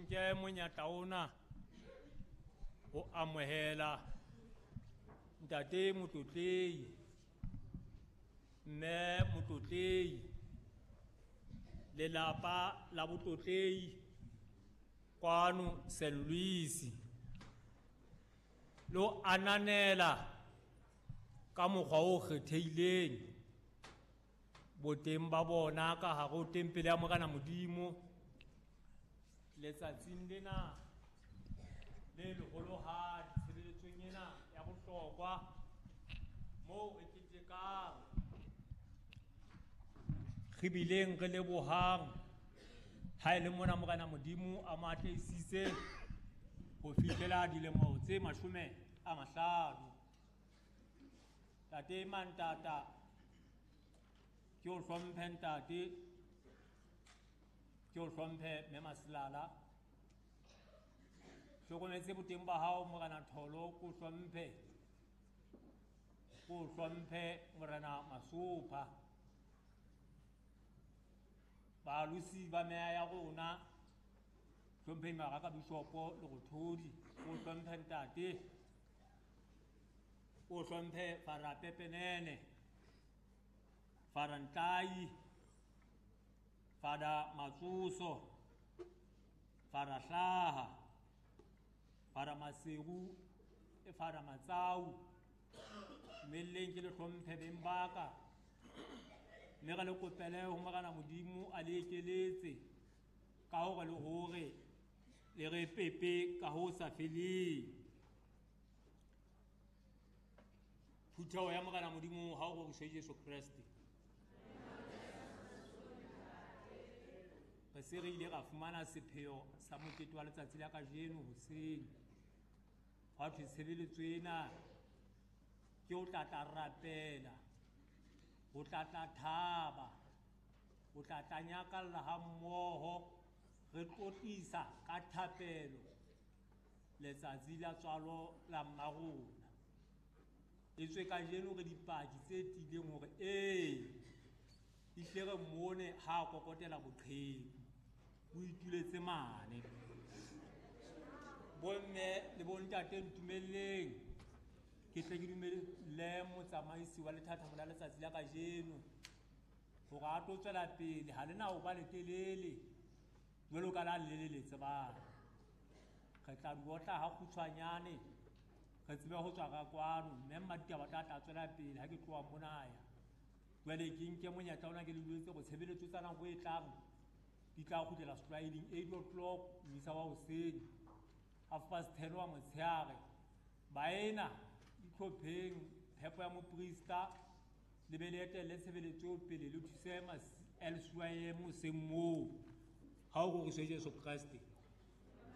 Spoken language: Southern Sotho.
Ke nke monyetla ona ho amohela ntate Motlotlehi, mme Motlotlehi, lelapa la Botlotlehi kwano St. Louis, le ho ananela ka mokgwa o kgethehileng boteng ba bona ka hare ho tempele ya Morena Modimo letsatsing lena le leholohadi tshebeletsong ena ya bohlokwa moo re ketekang re bileng re lebohang ha e le mona Morena Modimo a mo atlehisitse ho fihlela dilemo tse 50. Tate Mantata, ke o hlomphe ntate, ke o hlomphe mme Maselala. Hlokometse boteng ba hao Morena Tholo, ke o hlomphe. Ke o hlomphe Morena Masopha. Balosi ba meya ya rona, hlompheng maraka Bishopo le Rothodi, ke o hlomphe ntate. O hlomphe Fara Pepenene, Fara Ntlai, Fara Matsoso, Fara Hlaha, Fara Maseru, le Fara Matsau. Mmelleng ke le hlomphe beng ba ka, mme re le kopele ho Morena Modimo a le ekeletse ka hore le hore le re pepe ka ho sa feleng. Phutheho ya Morena Modimo ha o roriswe Jesu Kreste. Re se re ile ra fumana sepheo sa mokete wa letsatsi la kajeno hoseng. Hwa thwe tshebeletso ena ke ho tla tla rapela, ho tla tla thaba, ho tla tla nyakalla ha mmoho, re tlotlisa ka thapelo letsatsi la tswalo la mma rona. Etswe kajeno re dipaki tse tiileng hore ee, ehlile re mmone ha a kokotela boqheku, o ituletse mane. Bomme le bontate ntumelleng ke tle ke dumelle motsamaisi wa lethathamo la letsatsi la kajeno hore a tlo tswela pele. Ha le na ho ba letelele jwalo ka la le le le tsebang. Re tla di otla ha kgutshwanyane, re tsebe ho tswa ka kwano, mme mmaditaba tla tla tswela pele ha ke tloha mona ya. Jwale ke nke monyetla ona ke le jwetse hore tshebeletso tsa nako e tlang di tla kgutlela setlwaeding 8 o'clock mmisa wa hoseng, 10:30 wa motshehare. Baena itlhopheng phepo ya moprista, le be le etelle tshebeletso pele le thuse LCYM hoseng moo. Ha o roriswe Jesu Kreste.